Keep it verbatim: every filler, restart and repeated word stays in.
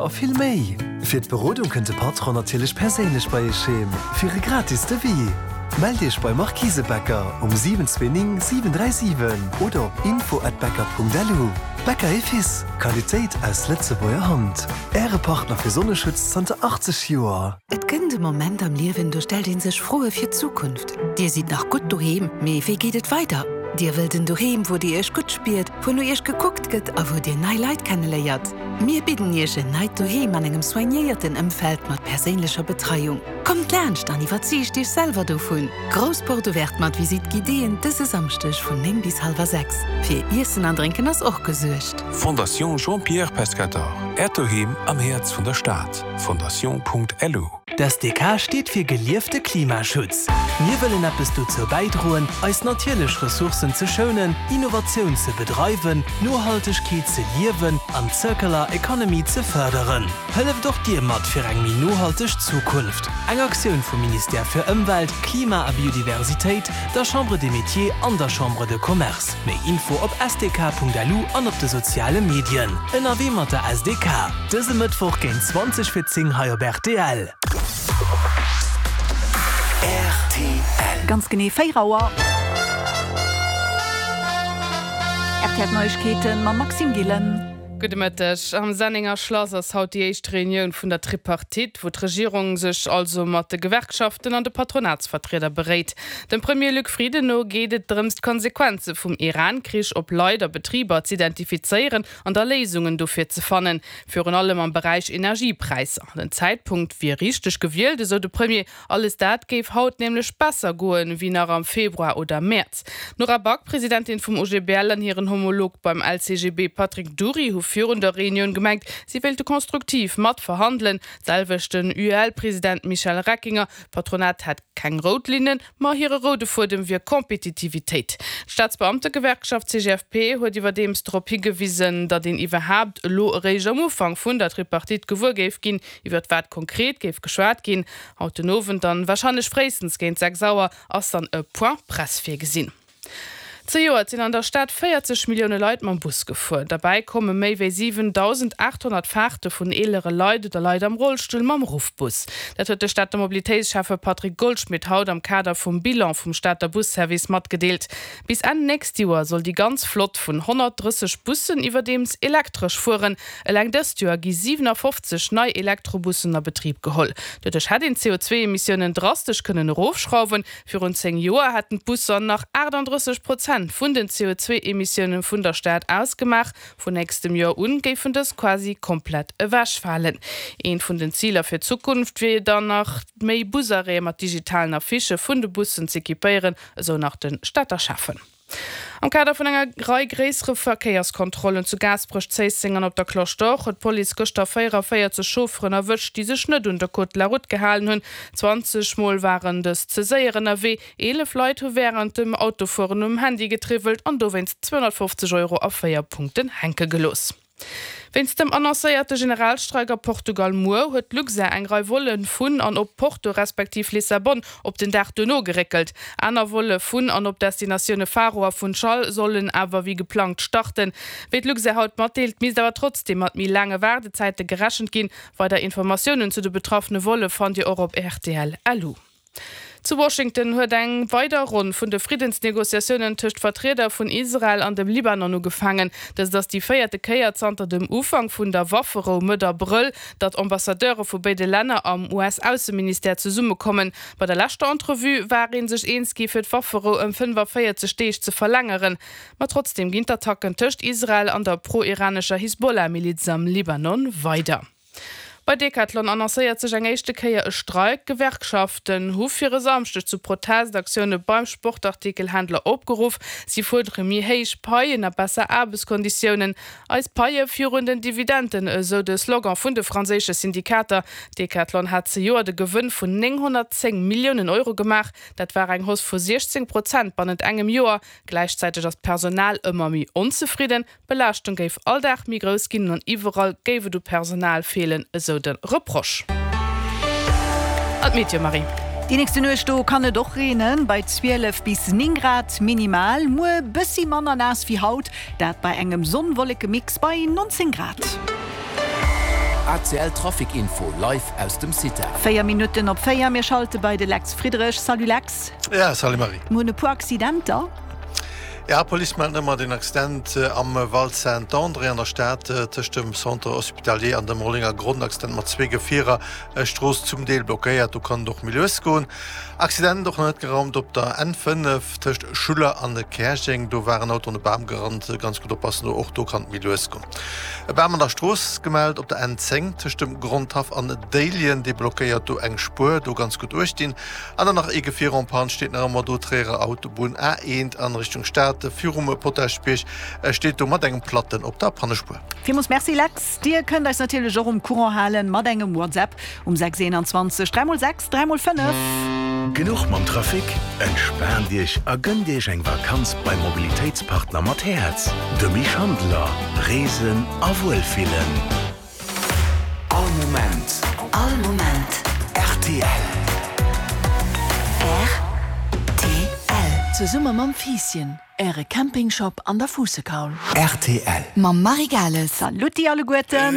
A vill méi! Fir d'Berodung kënnt de Patron natierlech perséinlech bei Iech heem fir e gratis Devis. Mellt Iech bei Marquise Becker um siwen zwee néng siwen dräi siwen oder op info at becker Punkt lu. Becker et Fils, Qualitéit aus Lëtzebuerger Hand. Äre Partner fir Sonneschutz zanter achtzeg Joer. Et kënnt e Moment am Liewen, do stellt een sech Froe fir d'Zukunft. Dir sidd nach gutt doheem, mee wéi geet et weider? Dir wëllt en Doheem, wou Dir Iech gutt spiert, wou no Iech gekuckt gëtt a wou Dir nei Leit kenneléiert. Mir bidden Iech en neit Doheem an engem soignéierten Ëmfeld mat perséinlecher Betreiung. Kommt laanscht an iwwerzeegt Iech selwer dovun! Grouss Porte ouverte mat Visite guidéeën dëse Samschdeg vun néng bis hallwer sechs. Fir Iessen an Drénken ass och gesuergt. Fondation Jean-Pierre Pescatore, Äert Doheem am Häerz vun der Stad. Fondation.lu. D'S D K steet fir geliefte Klimaschutz. Mir wëllen eppes dozou bäidroen, eis natierlech Ressourcen ze schounen, Innovatioun ze bedreiwen, Nohaltegkeet ze liewen an d'Circular Economy ze fërderen. Hëlleft och Dir mat fir eng méi nohalteg Zukunft. Eng Aktioun vum Ministère fir Ëmwelt, Klima a Biodiversitéit, der Chambre des Métiers an der Chambre de Commerce. Méi Info op S D K Punkt L U an op de soziale Medien. Ënnerwee mat der S D K. Dëse Mëttwoch géint zwanzeg vir zéng hei op R T L. R T L. Ganz genee véier Auer. R T L Neiegkeeten mam Maxime Gillen. Gudde Mëtteg. Am Sennenger Schlass ass haut déi éischt Reunioun vun der Tripartite, wou d'Regierung sech also mat de Gewerkschaften an de Patronatsvertrieder beréit. Dem Premier Luc Frieden no geet et drëms, d'Konsequenze vum Iran-Krich op Leit a Betriber z'identifizéieren an da Léisungen dofir ze fannen, virun allem am Beräich Energiepräisser. Den Zäitpunkt wier richteg gewielt, esou de Premier, alles dat géif haut nämlech besser goen, wéi nach am Februar oder Mäerz. D'Nora Back, Presidentin vum O G B L, an hiren Homolog beim L C G B Patrick Dury hu virun der Reunioun gemengt, si wéilte konstruktiv mat verhandelen. D'selwecht den U E L-President Michel Reckinger. D'Patronat hätt keng rout Linnen, ma hire roude Fuedem wier Kompetitivitéit. D'Staatsbeamtegewerkschaft C G F P huet iwwerdeems drop higewisen, datt een iwwerhaapt elo eréischt am Ufank vun der Tripartite gewuer géif ginn, iwwert wat konkret géif geschwat ginn. Haut den Owend dann, warscheinlech fréistens géint sechs Auer, ass dann e Point Presse virgesinn. Zejoert sinn an der Stad véierzeg Millioune Leit mam Bus gefuer. Derbäi komme méi wéi siwendausendaathonnert Faarte vun eelere Leit oder Leit am Rollstull mam Ruffbus. Dat huet de Stater Mobilitéitsschäffe Patrick Goldschmidt haut am Kader vum Bilan vum Stater Busservice matgedeelt. Bis Enn nächst Joer soll déi ganz Flott vun honnertdrësseg Bussen iwwerdeems elektresch fueren. Eleng dëst Joer gi siwenafofzeg nei Elektrobussen a Betrib geholl. Doduerch hätt een d'C O zwee Emissiounen drastesch kënnen erofschrauwen. Virun zéng Joer hätten d'Busser nach aachtanddrësseg Prozent vun den C O zwee Emissioune vun der Stad ausgemaach. Vun nächstem Joer un géifen dës quasi komplett ewechfalen. Eent vun den Ziler fir d'Zukunft wier dann nach, méi Busarrêtë mat digitalen Affichë vun de Bussen z'equipéieren, esou nach de Stater Schäffen. Am Kader vun enger Rei gréissere Verkéierskontrollen zu Gaasperech, Zéisseng an op der Cloche d'Or huet d'Police gëschter véieraféierzeg Chaufferen erwëscht, déi sech net un de Code de la Route gehalen hunn. zwanzeg Mol waren dës ze séier ënnerwee, eelef Leit hu wärend dem Autofueren um Handy getriwwelt an dowéinst zweehonnertfofzeg Euro a véier Punkten hänke gelooss. Wéinst dem annoncéierte Generalstreik a Portugal muer huet d'Luxair eng Rei Volle vun an op Porto respektiv Lissabon op den Dag duerno geréckelt. Aner Volle vun an op Destinatioune Faro a Funchal sollen awer wéi geplangt starten. Wéi d'Luxair haut matdeelt, misst awer trotzdeem mat méi laange Waardezäite gerechent ginn. Weider Informatiounen zu de betraffene Volle fannt Dir och op R T L L U. Zu Washington huet eng weider Ronn vun de Friddensnegociatiounen tëscht Vertrieder vun Israel an dem Libanon ugefaangen. Dëst ass déi véierte Kéier zanter dem Ufank vun der Wafferou Mëtt Abrëll, datt Ambassadeure vu béide Länner am U S-Ausseministère zesummekommen. Bei der leschter Entrevue war ee sech eens gi fir d'Wafferou ëm fënnefaféierzeg Deeg ze verlängeren. Ma trotzdeem ginn d'Attacken tëscht Israel an der pro-iranescher Hisbollah-Miliz am Libanon weider. Bei Decathlon annoncéiert sech eng éischte Kéier e Streik. D'Gewerkschaften hu fir e Samschdeg zu Protestaktioune beim Sportartikelhändler opgeruff. Si fuerdere méi héich Paien a besser Aarbechtskonditiounen. Eis Paie virun den Dividenden, esou de Slogan vun de franséische Syndikater. Decathlon hat zejoert e Gewënn vun nénghonnertzéng Milliounen Euro gemaach. Dat war eng Hausse vu siechzéng Prozent bannent engem Joer. Gläichzäiteg ass d'Personal ëmmer méi onzefridden. D'Belaaschtung géif all Dag méi grouss ginn an iwwerall géif et u Personal feelen, esou de Reproche. An d'Meteo, Marie. Déi nächste Nuecht do kann et och reenen, bei zwielef bis néng Grad minimal. Muer bëssi manner naass wéi haut, dat bei engem Sonn-Wolleke-Mix bei nonzéng Grad. ACL Trafic Info live aus dem CITA. Véier Minutten op véier, mir schalte bei de Lex Friedrich. Salut Lex. Ja, salut Marie. Mir hunn e puer Accidenter. Ja, Police mellt ëmmer den Accident am Val Saint-André an der Stad tëscht dem Centre Hospitalier an dem Rollenger Gronn. Accident mat zwee Gefierer, Strooss zum Deel blockéiert, do kann et och méi lues goen. Accident och nach net geraumt op der N fënnef tëscht Schuller an Käerjeng, do war en Auto an e Bam gerannt, ganz gutt oppassen do, och do kann et méi lues goen. E Bam an der Strooss gemellt op der N zéng tëscht dem Grondhaff an Déiljen, dee blockéiert do eng Spuer, do ganz gutt uecht dinn. An dann nach ee Gefier en panne steet nach ëmmer do, Tréierer Autobunn A eent an Richtung Stad virum Potaschbierg steet do mat engem Platten op der Pannespuer. Villmools Merci Lex. Dir kënnt eis natierlech och um Courant halen mat engem WhatsApp um sechs eenanzwanzeg dräi mol sechs dräi mol fënnef. Genuch mam Trafic? Entspaant Iech a gënnt Iech eng Vakanz beim Mobilitéitspartner mat Häerz, de Schandeler. Reesen a Wuelfillen. All Moment. All Moment. Rtl. Rtl. Zesumme mam Fiisschen, Äre Campingshop an der Fuussekaul. Rtl. Mam Marie Gales. Saluti alleguerten.